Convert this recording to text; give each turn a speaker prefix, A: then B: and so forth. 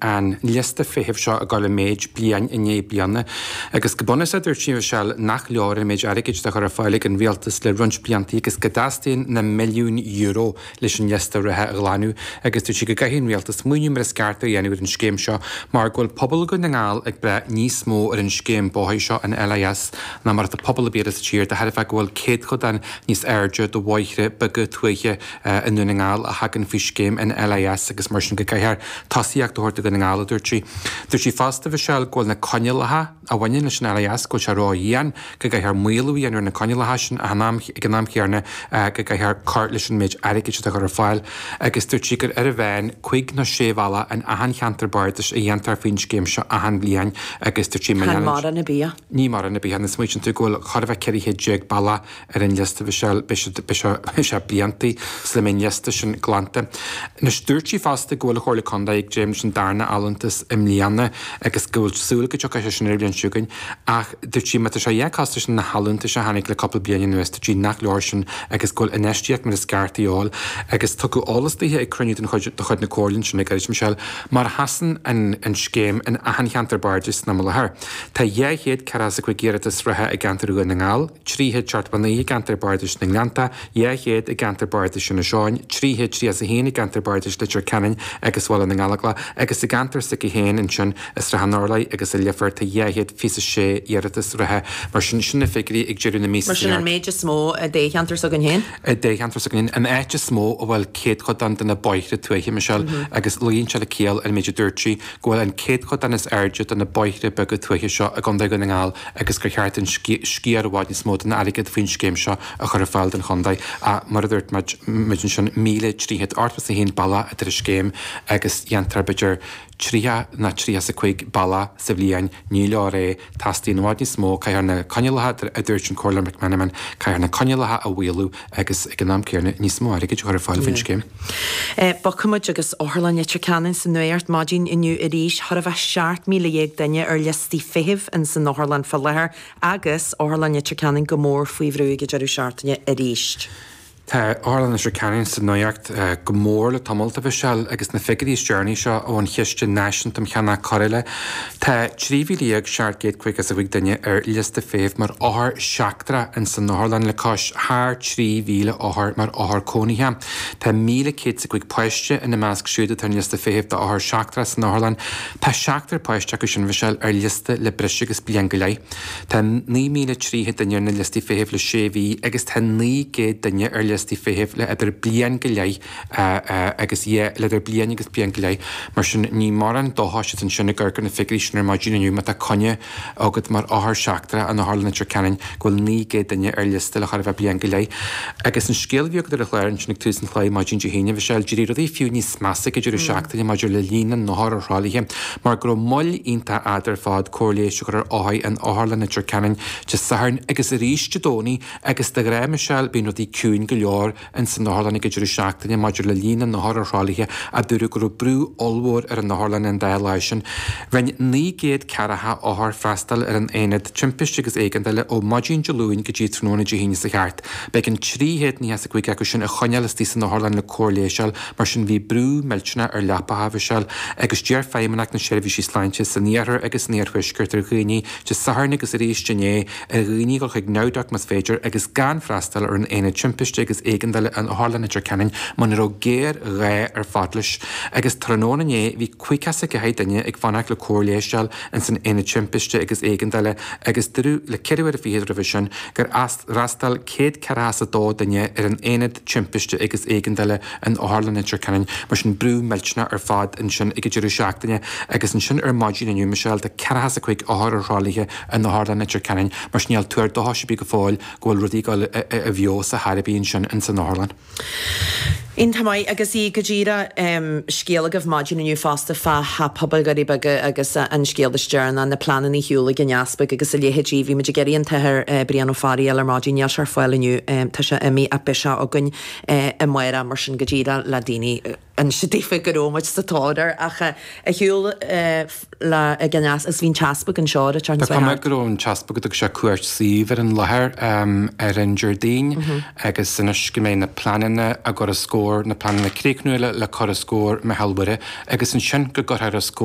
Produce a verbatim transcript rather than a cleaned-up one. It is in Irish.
A: an liosta feithimh seo ag dul i méid bliain i ndiaidh bliana agus go bunúsach dúirt sí Michelle nach leor an méid airgid atá á chur ar fáil ag an rialtas le roinnt blianta agus go dteastaíonn na milliúin euro leis an liosta reatha a ghlanadh agus dúirt sí go gcaithfidh an rialtas smaoineamh mar is ceart a dhéanamh ar an scéim seo mar go bhfuil pobal Dhún na nGall ag brath níos mó ar an scéim bóthair seo an LIS ná mar atá pobal ar bith eile sa tír de thairbhe go bhfuil céadchodán níos airde de bhóithre beaga tuaithe i nDún na nGall a thagann faoi scéim an LIS agus mar sin go gcaithfear tosaíocht a thabhairt do Dhún na nGall a dúirt sí. Dúirt sí fosta Michelle go bhfuil na coinníollacha a bhaineann leis an LIS go bhfuil sé ródhian go gcaithfear maolú a dhéanamh ar na coinníollacha sin ag an am chéanna go gcaithfear cur leis an méid airgid atá á chur ar fáil agus dúirt sí gur ar a mheán cúig nó sé bhealach in achan cheantar bardais a dhéantar faoin scéim seo achan bhliain agus dúirt sí
B: Chan mórán ar bith.
A: Ní mórán ar bith agus smaoitíonn tú go bhfuil chóir a bheith ceithre chéad déag bealach ar an liosta Michelle beidh sé blianta sula mbeidh an liosta sin glanta. Anois dúirt sí fosta go bhfuil an Chomhairle Contae ag dréim leis an darna allúntas i mbliana agus go bhfuil súil go dtiocfaidh sé sin ar an bhliain seo chugainn ach dúirt sí má tá sé dhá costas sin na hallúntais a tháinig le cúpla bliain anuas dúirt sí nach leor sin agus go bhfuil infheistíocht mar is ceart de dhíobháil agus tugadh eolas daoithe ag cruinniú den chuid de chuid na Comhairle ansin le gairid Michelle mar a sheasann an an scéim in achan cheantar bardais san am i láthair. Tá dhá chéad ceathracha is a cúig iarratas reatha i gceantar Dhún na nGall, trí chéad seachtó a naoi i gceantar bardais na nGleannta, dhá chéad i gceantar bardais Inis Eoghain, trí chéad tríocha is a haon i gceantar bardais Leitir Ceanainn agus Bhaile na nGallóglach agus i gceantar s'aici féin ansin i Srath an Urláir agus i Leifear tá dhá chéad fiche is a sé iarratas reatha. Mar sin, sin na figiúirí ag deireadh na míosa
B: Mar sin an méid is mó i dtoghcheantar s'againn féin?
A: I dtoghcheantar s'againn féin, an áit is mó a bhfuil céadchodán de na bóithre tuaithe, Michelle, agus luíonn sé le ciall an méid a dúirt sí, go bhfuil an céadchodán is airde de na bóithre beaga tuaithe seo i gContae Dhún na nGall agus gur cheart an sciar i bhfad níos mó den airgead faoin scéim seo a chur ar fáil don chontae. Ach mar a dúirt muid ansin, míle trí chéad ochtó is a haon bealach atá ar an scéim agus dhéantar b'fhéidir tríocha nó tríocha is a cúig bealach sa bhliain. Ní leor é. Teastaíonn i bhfad níos mó. Caithfear na coinníollacha, a dúirt an Comhairleoir McMenamin, caithfear na coinníollacha a mhaolú agus ag an am céanna níos mó airgid a chur ar fáil faoin scéim.
B: Bogfaidh muid agus Otharlann Leitir Ceanainn sa nuacht maidin inniu arís. Chóir a bheith seacht míle dhéag duine ar liostaí feithimh ins an otharlann fá láthair agus Otharlann Leitir Ceanainn go mór faoi bhrú ag an deireadh seachtaine arís.
A: Tá Otharlann Leitir Ceanainn sa nuacht go mór le tamall, a Mhichelle, agus na figiúirí is deireanaí seo ón Chiste Náisiúnta um Cheannach Cóireála. Tá trí mhíle dhéag seacht gcéad caoga is a cúig duine ar liosta feithimh mar othar seachtrach ins an otharlann le cois thar trí mhíle othar mar othar cónaithe. Tá míle céad is a cúig páiste ina measc siúd atá ar an liosta feithimh d'othair seachtrach san otharlann. Tá seachtar páiste acu sin, Mhichelle, ar liosta le breis agus bliain go leith. Tá naoi míle trí chéad duine ar na liostaí feithimh le sé mhí agus tá naoi gcéad duine ar liostaí feithimh le idir bliain go leith agus le idir bliain agus bliain go leith. Mar sin, ní mórán dóchais atá ansin ag amharc ar na figiúirí sin ar maidin inniu má tá coinne agat mar othar seachtrach in Otharlann Leitir Ceanainn go bhfuil naoi gcéad duine ar liosta le chóir a bheith bliain go leith. Agus an scéal a bhí agat ar an chlár ansin ag tús an chláir maidin Dé hAoine, Mhichelle, d'éirigh rudaí fiú níos measa ag an deireadh seachtaine maidir le líon na n-othar ar thralaithe mar go raibh moill iontach fhada ar fad cóir leighis a chur ar othair in Otharlann Leitir Ceanainn Dé Sathairn agus arís Dé Domhnaigh agus de ghnáth, Michelle, bíonn rudaí ciúin go leor ins an otharlann ag an deireadh seachtaine maidir le líon na n-othar ar thralaithe ach dúradh go raibh brú ollmhór ar an otharlann an dá lá sin. Rinne naoi gcéad ceathracha othar freastal ar an aonad timpiste agus éigeandála ó maidin Dé Luain go dtí tráthnóna Dé hAoine sa cheart. B'éigean trí chéad nócha is a cúig acu sin a choinneáil istigh san otharlann le cóir leighis a fháil, mar sin bhí brú millteanach ar leapacha, Mhichelle, agus d'iarr Feidhmeannacht na Seirbhísí Sláinte san iarthar agus san iarthuaisceart ar dhaoine Dé Sathairn agus arís inné ar dhaoine dul chuig NowDoc más féidir agus gan freastal ar an Aonad Timpiste agus Éigeandála in Otharlann Leitir Ceanainn muna raibh géarghá ar fad leis. Agus tráthnóna inné bhí caoga is a ceathair duine ag fanacht le cóir leighis a fháil ins an Aonad Timpiste agus Éigeandála agus dúradh le ceithre uaire fichead roimhe sin gur fhreastail céad ceathracha is a dó duine ar an Aonad Timpiste agus Éigeandála in Otharlann Leitir Ceanainn. Mar sin brú millteanach ar fad ansin ag an deireadh seachtaine agus ansin ar maidin inniu, Michelle, tá ceathracha is a cúig othar ar thralaithe in Otharlann Leitir Ceanainn. Mar sin níl tuar dóchais ar bith go fóill go bhfuil rudaí ag dul i bhfeabhas ar chor ar bith ansin ins an otharlann.
B: Iontach maith agus í go díreach scéal agaibh maidin inniu fosta fá ha pobail Dhoirí Beaga agus an scéal is deireanaí, na pleananna ar shiúl ag an Easpag agus a leithéidí. Bhí muid ag iarraidh an tAthair Brian Ó Fearraigh a fháil ar maidin, níl sé ar fáil inniu, tá sé imithe ach beidh sé againn amárach mar sin go díreach le daoine inse daofa go raibh muid sa tóir air ach ar shiúl le ag an Eas agus bhí an tEaspag anseo ar an
A: Tá cuma go raibh an tEaspag go dtug sé cuairt suímh ar an láthair ar an Déardaoin agus anois go mbeidh na pleananna á gcur os comhair, na pleananna críochnúla le cur os comhair Mhicheál Mhuire agus ansin go gcuirfear os comhair